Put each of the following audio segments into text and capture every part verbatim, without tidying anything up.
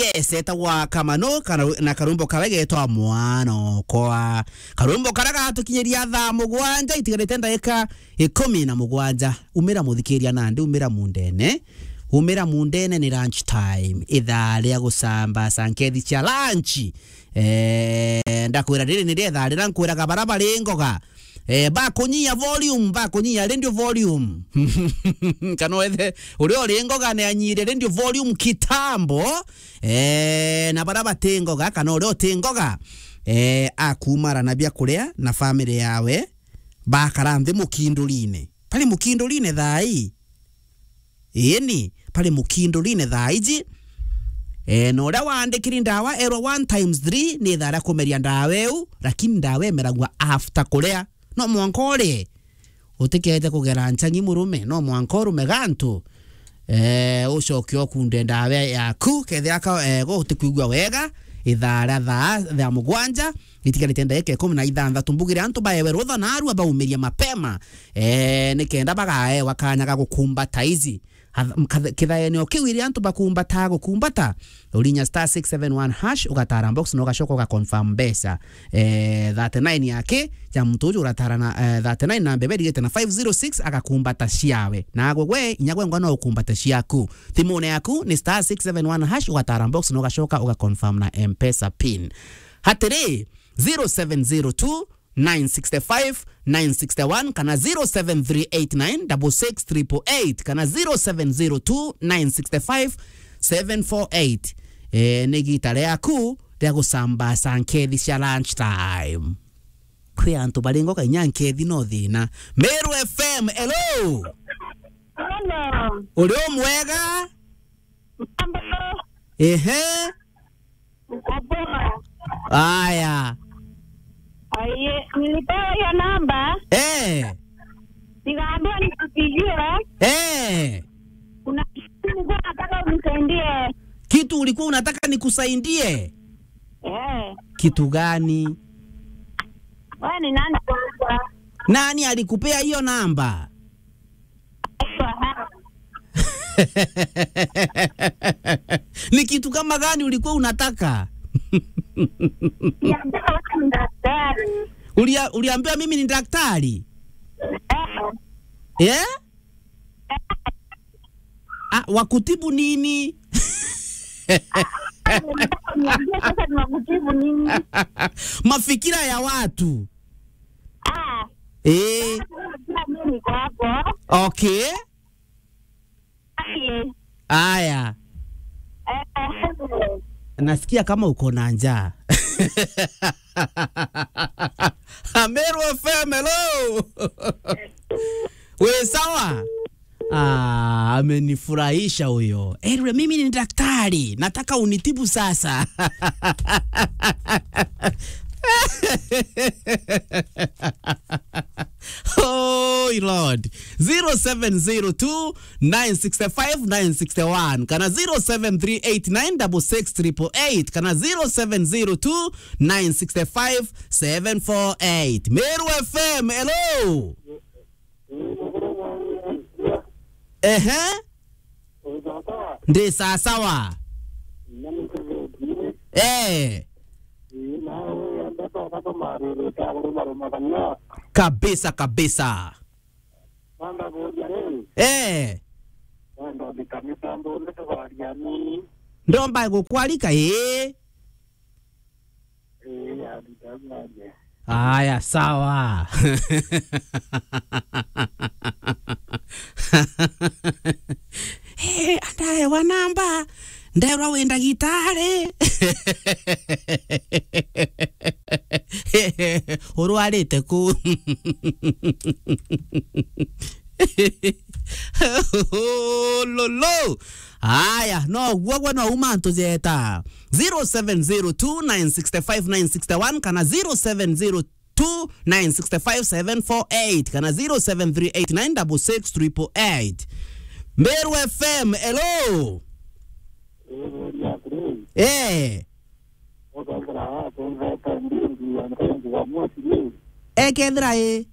Yes, etagwa Kamano, kana, na karwimbo kawe getwa Mwana Okwa. Karwimbo karia gatukinyiria thaa mugwanja itigarite ndagika ikumi na mugwanja. Umira muthikiria nandi, umira mundene. Umira mundene ni lunch time. Ithaa ria gucamba sankethi cia lunch. Eh, ndakwira riri ni rietha rira nkwiraga bara bari ngoga. Eh, bakunyia volume, bakunyia radio volume. Kana wethe, uria uri ngoga ni anyire radio volume kitambo. Eh, na bara bati ngoga, kana uria uti ngoga, eh, akumara na bia kuria na family yawe, bakara nthi mukindurine. Bari mukindurine thaa ii. Iini, bari mukindurine thaa iji. Eh, na uria waandikiri ndawa erwa one times three ni ithaa ria kumeria ndawa iu, lakini ndawa imeragua after kuria. No mwanka urie. Utikete kugera nchang'i murume, no mwanka urume gantu. Eh, ucoke ukunde ndawa yaku, kethira ka, eh, gutikwigua wega, ithaa ria thaa, thaa mugwanja, itigarite ndagika ikumi na ithanthatu. Mbugire antu baewe rutha narua baumirie mapema. Eh, nikenda bagaewa kanya ga gukumbata ici. Kithaenio kiu iria antu bakumbataa gukumbata, urinya star six seven one hash, ugatara box na ugacoka ugaconfirm mbeca. Eh, thirty-nine yake, ya muntu uju uratara na, eh, thirty-nine na mbebe irigite na five zero six, agakumbata ciawe. Na agwe gwe, inya gwe ngwa no ukumbate ciaku. Thimune yaku ni star six seven one hash, ugatara box na ugacoka ugaconfirm na M-Pesa pin. Hatiri, zero seven zero two, nine sixty-five, nine sixty-one, kana zero seven three eight nine double six triple eight, kana zero seven zero two, nine sixty-five, seven four eight. Eh, ni gita riaku ria gucamba sankethi cia lunch time. Kwi antu bari ngoga inya nkethi no thina. Meru F M, hello! Hello. Uri umwega? Mambo. Ehe. Uko poa? Aya. Aye, nilipewa hiyo namba. Eh. Nikaambiwa nikupigie. Eh. Kuna kitu nilikuwa nataka unisaidie. Kitu ulikuwa unataka nikusaidie? Eh. Kitu gani? Wewe ni nani kwanza? Nani alikupea hiyo namba? Ni kitu kama gani ulikuwa unataka? Niambia wewe ni daktari. Ulia-, uliambiwa mimi ni daktari? Eh. Eh? Ah, wakutibu nini? Niambia sasa ni wakutibu nini? Mafikira ya watu. Ah. Eh. Sasa mimi niko hapo. Okay. Ai. Aya. Eh. Nasikia kama uko na njaa. Ameru F M, hello. We sawa? Ah, amenifurahisha huyo. Erwe, mimi ni daktari, nataka unitibu sasa. Oh, Lord. Zero seven zero two, nine six five, nine six one. Kana zero seven three eight nine double six triple eight. Kana zero seven zero two, nine six five, seven four eight. Meru F M, hello. Ehe. Ndi sawa sawa. Eh. Kabisa, kabisa. Eh. Ndomba gukwarika, ii. Aya, sawa. Eh, andaewa namba, nderwa wi ndagitari. Urwarite ku? Lolo. Aya, no guo gwe no uma ntujeta. Zero seven zero two, nine six five, nine six one kana zero seven zero two, nine six five, seven four eight kana zero seven three eight nine double six triple eight. Meru F M, hello. Eh. Ekethira i.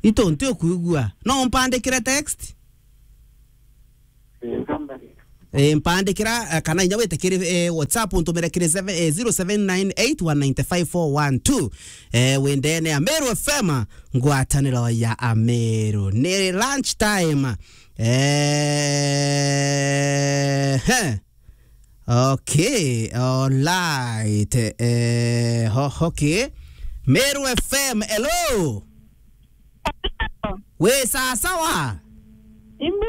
Itu nti ukuigua. No umpandikire text? Eh, mpandikira, eh, kana inya wite kiri, eh, WhatsApp, untumire kiri seven, eh, zero seven nine eight one nine five four one two. Eh, wendene ya Meru F M, ngwataniro ya Ameru. Ni lunch time. Eh, he. Okay, all right. Eh, ho-, okay. Meru F M, hello. Wi sawa sawa? Imbi.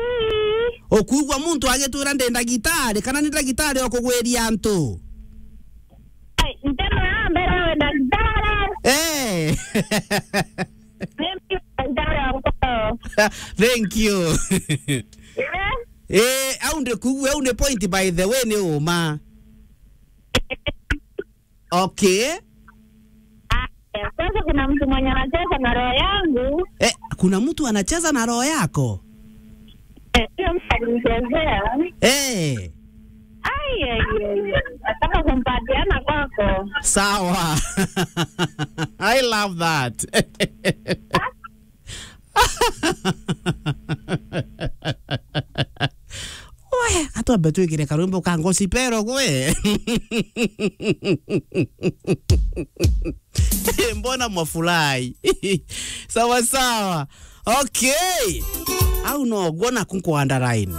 Ukuigua muntu agitwira ndi ndagitari, kana ni ndagitari o kugwiria antu? Ai, nteno ya mbere we ndagitari. Eh. Mimi ndagitari wa mkono. Thank you. Eh? Eh, au ndi kuigua, au ni point by the way ni uma. Okay. Aya, sasa kuna mtu mwenye anacheza na roho yangu. Eh, kuna mtu anacheza na roho yako? Eh, hiyo mtu alinichezea. Eh. Ai, ai, ai, ai. Nataka kumpatiana kwako. Sawa. I love that. We, atwambe twikire karwimbo ka gospel gwe. Mbona mwafurahi? Sawa sawa. Okay. Au no guona kunko underline.